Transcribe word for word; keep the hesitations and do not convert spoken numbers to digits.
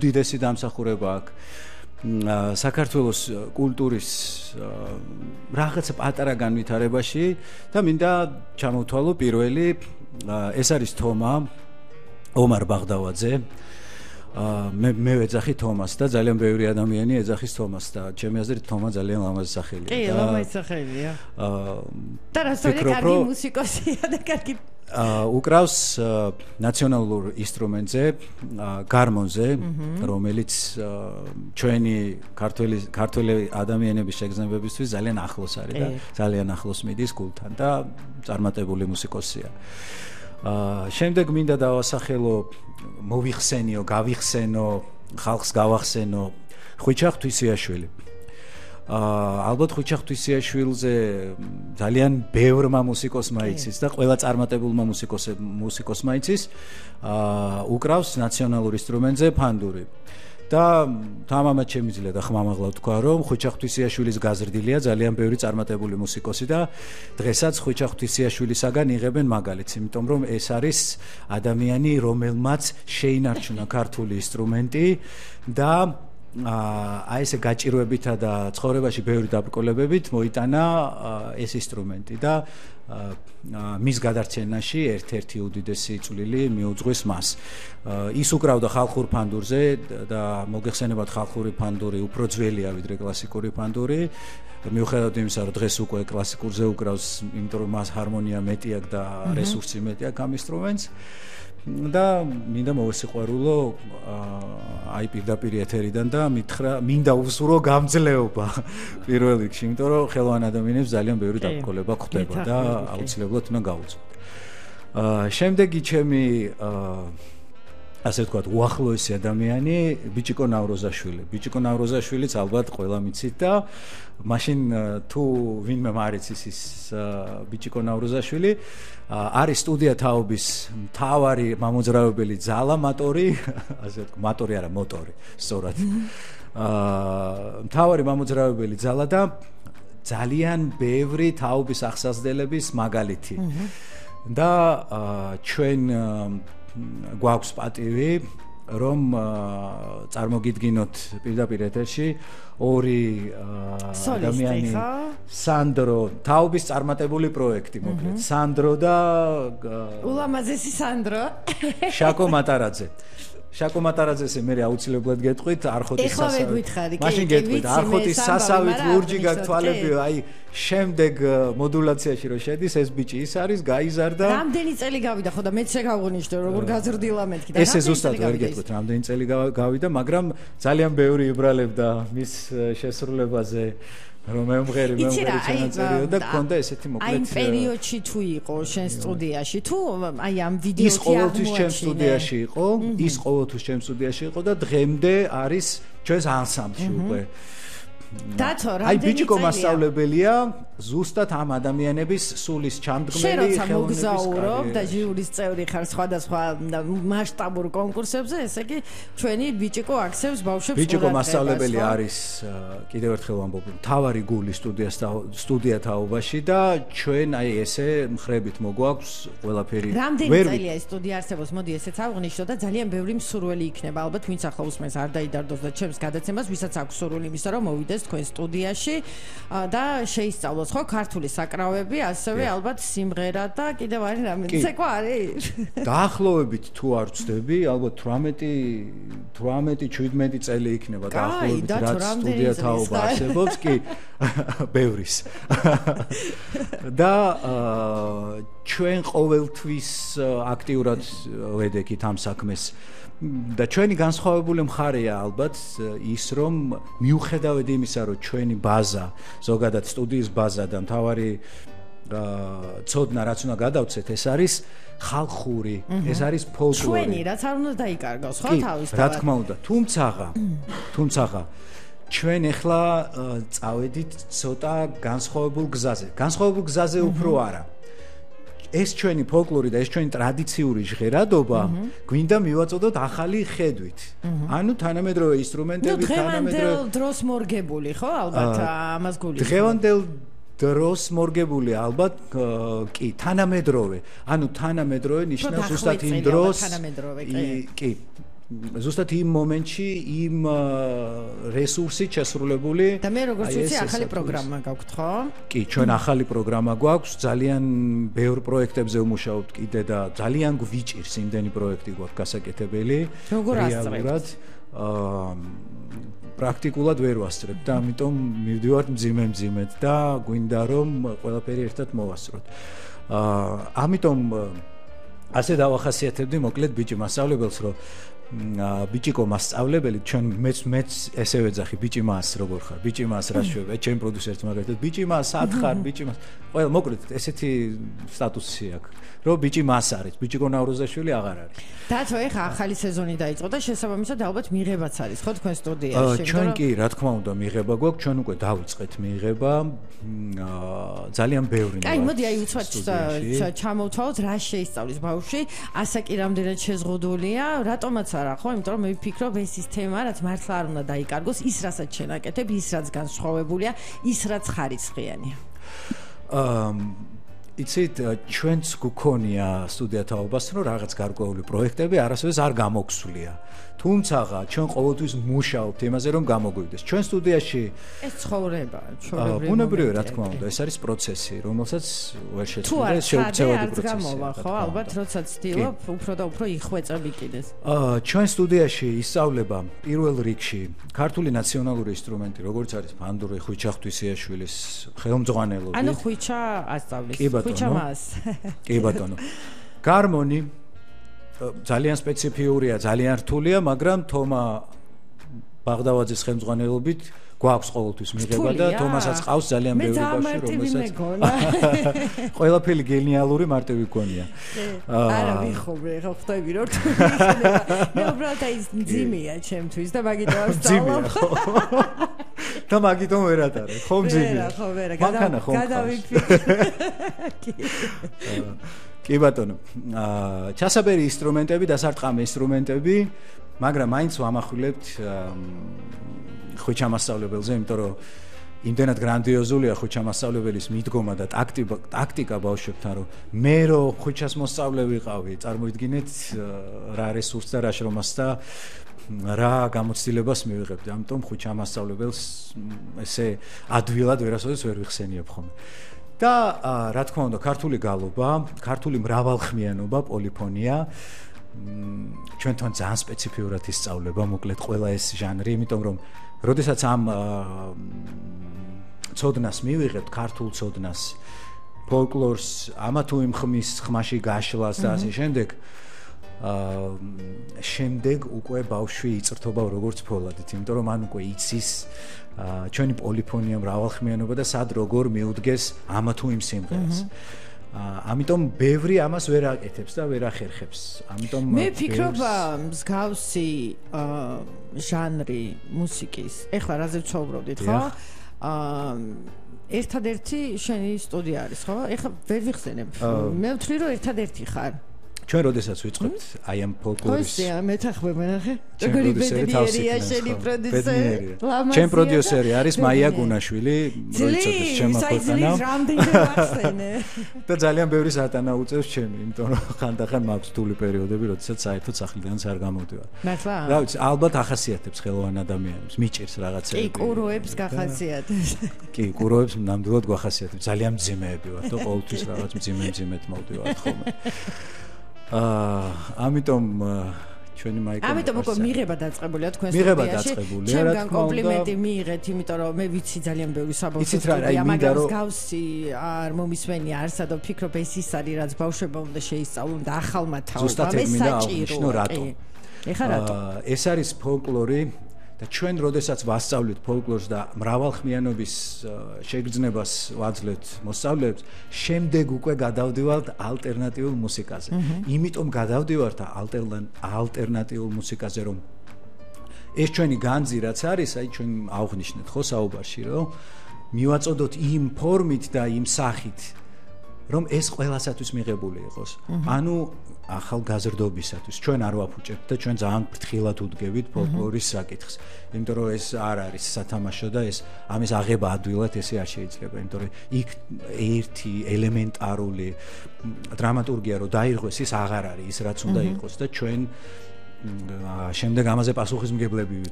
უდიდესი დამსახურება აქვს საქართველოს კულტურის რაღაცა პატარა განვითარებაში და მინდა ჩამოვთვალო პირველი ეს არის თომა ომარ ბაღდავაძე მე მე ვეძახი თომას და ძალიან ბევრი ადამიანი ეძახის თომას და ჩემი აზრით თომა ძალიან ლამაზი სახელია კი ლამაზი სახელია და რასაც კარგი მუსიკოსია და კარგი უკრავს ნაციონალურ ინსტრუმენტზე გარმონზე რომელიც ჩვენი ქართველი ქართველი ადამიანების შეგრძნებებისთვის ძალიან ახლოს არის და ძალიან ახლოს მიდის გულთან და წარმატებული მუსიკოსია შემდეგ მინდა დავასახელო მოვიხსენიო გავიხსენო ხალხს გავახსენო ხვიჩა ღვთისიაშვილი ალბათ ხვიჩა ღვთისიაშვილზე ძალიან ბევრმა მუსიკოსმა იცის და ყველა წარმატებულმა მუსიკოსმა იცის უკრავს ნაციონალურ ინსტრუმენტზე ფანდური და თამამად შემიძლია და ხმამაღლა ვთქვა რომ ხვიჩა ღვთისიაშვილის გაზრდილია ძალიან ბევრი წარმატებული მუსიკოსი და დღესაც ხვიჩა ღვთისიაშვილისაგან იღებენ მაგალითს იმიტომ რომ ეს არის ადამიანი რომელმაც შეინარჩუნა ქართული ინსტრუმენტი და აი ესე გაჭირვებითა და ცხოვრებაში ბევრი დაბრკოლებებით მოიტანა ეს ინსტრუმენტი და მის გადარჩენაში ერთ-ერთი უდიდესი წვლილი მიუძღვის მას. ის უკრავდა ხალხურ ფანდურზე და მოგეხსენებათ ხალხური ფანდური უფრო ძველია ვიდრე კლასიკური ფანდური. მიუხედავად იმისა, რომ დღეს უკვე კლასიკურზე უკრავს, იმიტომ რომ მას ჰარმონია მეტი აქვს და რესურსი მეტი აქვს ამ ინსტრუმენტს. და მინდა მოვესიყვარულო აი პირდაპირ ეთერიდან და მითხრა მინდა უსურო გამძლეობა პირველ რიგში, იმიტომ რომ ხელოვან ადამიანებს ძალიან ბევრი დაბრკოლება გვხვდება და აუცილებლად უნდა გავუწოთ. შემდეგი ჩემი ასე ვთქვათ, უახლოესი ადამიანი ბიჭიკო ნავროზაშვილი. ბიჭიკო ნავროზაშვილიც ალბათ ყველა მიცით და მაშინ თუ ვინმე მარიცის ის ბიჭიკო ნავროზაშვილი არის სტუდია თაობის მთავარი მამოძრავებელი ძალა მატორი, ასე ვთქვათ, მატორი არა, მოტორი, სწორად. აა მთავარი მამოძრავებელი ძალა და ძალიან ბევრი თაობის აღსაზრდელების მაგალითი. და ჩვენ გვაქვს პატივი რომ წარმოგიდგინოთ პირდაპირ ეთერში ორი ადამიანი სანდრო თაობის წარმატებული პროექტი მოკლედ სანდრო და ულამაზესი სანდრო შაკო მატარაძე შაკო მატარაძეს მე აუცილებლად გეტყვით არხოტის სასავით მაშინ გეტყვით არხოტის სასავით ლურჯი გაქვს თვალები აი შემდეგ მოდულაციაში რო შედის ეს ბიჭი ის არის გაიზარდა რამდენი წელი გავიდა ხო და მეც შეგავღნიშნე როგორ გაზრდილა მეთქი და ესე ზუსტად ვერ გეტყვით რამდენი წელი გავიდა მაგრამ ძალიან ბევრი იბრალებდა მის შესრულებაზე რომ მემღერი მემღერი ჩანაწერიო და გქონდა ესეთი მოკლედ აი პერიოდში თუ იყო შენ სტუდიაში თუ აი ამ ვიდეოში ის ყოველთვის ჩემ სტუდიაში იყო ის ყოველთვის ჩემ სტუდიაში იყო და დღემდე არის ჩვენს ანსამბლში უკვე დათო რა აი ბიჭიკო მასწავლებელია ზუსტად ამ ადამიანების სულის ჩამდგმელი ხელოვნების მოგზაურობ და ჟიურის წევრი ხარ სხვადასხვა მასშტაბურ კონკურსებზე ესე იგი ჩვენი ბიჭიკო აქცევს ბავშვებს ბიჭიკო მასწავლებელი არის კიდევ ერთხელ ვამბობ მთავარი გული სტუდიას სტუდია თაობაში და ჩვენ აი ესე მხრებით მოგვაქვს ყველაფერი რამდენი წელია ეს სტუდია არსებობს მოდი ესეც ავღნიშნო და ძალიან ბევრი მსურველი იქნება ალბათ ვინც ახლა უსმენს არ დაიდარდოს და ჩემს გადაცემას ვისაც აქვს სურვილი იმისა რომ მოვიდეს თქვენ სტუდიაში და შეისწავლოს ხო ქართული საკრავები, ასევე ალბათ სიმღერა და კიდევ არის რამე. ცეკვა არის? დაახლოებით თუ არ ვწდები, albათ თვრამეტი შვიდმეტი წელი იქნება დაახლოებით რაც სტუდია თაობა არსებობს, კი, ბევრის. და ჩვენ ყოველთვის აქტიურად ვედექით ამ საქმეს. და ჩვენი განსხვავებული მხარეა ალბათ ის რომ მიუხედავად იმისა რომ ჩვენი ბაზა ზოგადად სტუდიის ბაზა და მთავარი ცოდნა რაც უნდა გადავცეთ ეს არის ხალხური ეს არის ფოლკლორი ჩვენი რაც არ უნდა დაიკარგოს ხო თავისთავად რა თქმა უნდა თუმცაღა თუმცაღა ჩვენ ახლა წავედით ცოტა განსხვავებულ გზაზე განსხვავებულ გზაზე უფრო არა ეს ჩვენი ფოლკლორი და ეს ჩვენი ტრადიციული ჟღერადობა გვინდა მივაწოდოთ ახალი ხედვით. ანუ თანამედროვე ინსტრუმენტებით, თანამედროვე დროს მორგებული, ხო, ალბათ ამას გული. დღევანდელ დროს მორგებული ალბათ კი, თანამედროვე. ანუ თანამედროვე ნიშნავს ზუსტად იმ დროს კი, ზუსტად იმ მომენტში იმ რესურსით შესრულებული და მე როგორც ვიცი ახალი პროგრამა გაქვთ ხო? კი, ჩვენ ახალი პროგრამა გვაქვს, ძალიან ბევრ პროექტებზე ვმუშაობთ კიდე და ძალიან გვიჭირს იმდენი პროექტი გვაქვს გასაკეთებელი. როგორ ასწრებთ? აა პრაქტიკულად ვერ ვასწრებ და ამიტომ მივდივართ მძიმე-მძიმედ და გვინდა რომ ყველაფერი ერთად მოვასწროთ. აა ამიტომ ასე დავახასიათებდი მოკლედ ბიჭი მასწავლებელს რომ ბიჭიკო მასწავლებელი ჩვენ მეც მეც ესე ვეძახი ბიჭი მას როგორ ხარ ბიჭი მას რა შვება ჩემ პროდიუსერს მაგალითად ბიჭი მას სად ხარ ბიჭი მას ყველა მოკლედ ესეთი სტატუსი აქვს რომ ბიჭი მას არის ბიჭიკო ნავროზაშვილი აღარ არის დათო ეხა ახალი სეზონი დაიწყო და შესაბამისად ალბათ მიღებაც არის ხო თქვენ სტუდიაში ჩვენ კი რა თქმა უნდა მიღება გვაქვს ჩვენ უკვე დავიწყეთ მიღება ძალიან ბევრი აი მოდი აი უცბად ჩამოვთვალოთ რა შეისწავლის ბავშვი ასაკი რამდენად შეზღუდულია რატომაც არა ხო იმიტომ რომ მე ვფიქრობ ეს ის თემა რაც მართლა არ უნდა დაიკარგოს ის რასაც შენაკეთებ ის რაც განსხვავებულია ის რაც ხარისხიანია აა იცით ჩვენც გქონია სტუდია თაობას რომ რაღაც გარკვეული პროექტები არასოდეს არ გამოგვსვლია თუმცა ჩვენ ყოველთვის მუშაობთ იმაზე რომ გამოგვივიდეს ჩვენ სტუდიაში ეს ცხოვრება ჩვეულებრივი ბუნებრივი რა თქმა უნდა ეს არის პროცესი რომელსაც ვერ შეცვლია შეუცვლელი პროცესია ხო ალბათ როდესაც ცდილობ უფრო და უფრო იხვეწები კიდეს აა ჩვენ სტუდიაში ისწავლება პირველ რიგში ქართული ნაციონალური ინსტრუმენტი როგორც არის ფანდური ხვიჩა ღვთისიაშვილის ხელმძღვანელობით ანუ ხვიჩა ასწავლის ხვიჩა მას კი ბატონო გარმონი ძალიან სპეციფიურია, ძალიან რთულია, მაგრამ თომა ბაღდავაძის ხელმძღვანელობით გვაქვს ყოველთვის მიღება და თომასაც ყავს ძალიან ბევრი ბავშვი, რომელსაც ყველაფერი გენიალური მარტივი გქონია. არა ვიხობე, ხო ხვდები რომ იქნება. მე უბრალოდ აი ძიმია ჩემთვის და მაგიტომ არ ვსწავლობ. და მაგიტომ ვერ ატარე, ხო ძიმია. ხო ვერა, გადავიფიქრე. კი ბატონო, აა ჩასაბერი ინსტრუმენტები და სასარტყამი ინსტრუმენტები, მაგრამ მაინც ვამახვილებთ ხვიჩა მასწავლებელზე, იმიტომ რომ იმდენად გრანდიოზულია ხვიჩა მასწავლებელის მიდგომა და ტაქტიკა, ტაქტიკა ბავშვებთან, რომ მე რო ხვიჩას მოსწავლე ვიყავი, წარმოიდგინეთ რა რესურსს და რა შრომას და რა გამოცდილებას მივიღებდი. ამიტომ ხვიჩა მასწავლებელს ესე ადვილად ვერასოდეს ვერ ვიხსენიებ ხოლმე. და რა თქმა უნდა ქართული გალობა, ქართული მრავალხმიანობა, პოლიფონია ჩვენთან ძალიან სპეციფიურად ისწავლება, მოკლედ ყველა ეს ჟანრი, იმიტომ რომ როდესაც ამ ცოდნას მივიღებთ, ქართულ ცოდნას, ფოლკლორს, ამა თუ იმ ხმის ხმაში გაშლას და ასე შემდეგ, აა შემდეგ უკვე ბავშვი იწრთობა როგორც ფოლადით, იმიტომ რომ ან უკვე იცის ჩვენი პოლიფონია მრავალხმიანობა და სად როგორ მიუდგეს ამა თუ იმ სიმღერას. ამიტომ ბევრი ამას ვერ აკეთებს და ვერ ახერხებს. ამიტომ მე ვფიქრობ მსგავსი ჟანრი მუსიკის. ეხლა რაზე ვცხოვრობდით, ხო? აა ერთადერთი შენი სტუდია არის, ხო? ეხლა ვერ ვიხსენებ. მე ვთვლი რომ ერთადერთი ხარ. ჩვენ როდესაც ვიწყებთ აი ამ ფოლკლორის ხო, მეთახმები ნახე. როგორი ბედნიერია შენი პროდიუსერი. ჩემ პროდიუსერი არის მაია გუნაშვილი, როიცოდეს ჩემო ქვეყანა. და ძალიან ბევრი სატანა უწევს ჩემი, იმიტომ რომ ხანდახან მაქვს თული პერიოდები, როდესაც საერთოდ სახლიდანაც არ გამოვდივარ. მართლა? რა ვიცი, ალბათ ახასიათებს ხელოვან ადამიანებს, მიჭირს რაღაცები. კი, კუროებს გახასიათებს. კი, კუროებს ნამდვილად გვახასიათებს. ძალიან მძიმეები ვართ და ყოველთვის რაღაც მძიმე-მძიმედ მოვდივართ ხოლმე. აა ამიტომ ჩვენი მაიკა ამიტომ უკვე მიღება დაწყებულია თქვენ სტუდიაში მიღება დაწყებულია რა თქმა უნდა კომპლიმენტი მიიღეთ იმიტომ რომ მე ვიცი ძალიან ბევრი საბავშვო სტუდია მაგრამ მსგავსი არ მომისმენი არსად და ვფიქრობ ეს ის არის რაც ბავშვებმა უნდა შეისწავლონ და ახალმა თაობამ ეს საჭიროა ეხლა რატო ეს არის ფოლკლორი და ჩვენ როდესაც ვასწავლეთ ფოლკლორს და მრავალხმიანობის შეგრძნებას ვაძლევთ მოსწავლეებს, შემდეგ უკვე გადავდივართ ალტერნატიულ მუსიკაზე. იმიტომ გადავდივართ ალტერნატიულ მუსიკაზე, რომ ეს ჩვენი განძი რაც არის, აი ჩვენ ავღნიშნეთ ხო საუბარში, რომ მივაწოდოთ იმ ფორმით და იმ სახით, რომ ეს ყველასათვის მიღებული იყოს. ანუ ახალგაზრდობისათვის ჩვენ არ ვაფუჭებთ და ჩვენ ძალიან ფრთხილად უდგებით ფოლკლორის საკითხს. იმიტომ რომ ეს არ არის სათამაშო და ეს ამის აღება ადვილად ესე არ შეიძლება. იმიტომ რომ იქ ერთი ელემენტარული დრამატურგია რო დაირღვეს ის აღარ არის ის რაც უნდა იყოს და ჩვენ შემდეგ ამაზე პასუხისმგებლები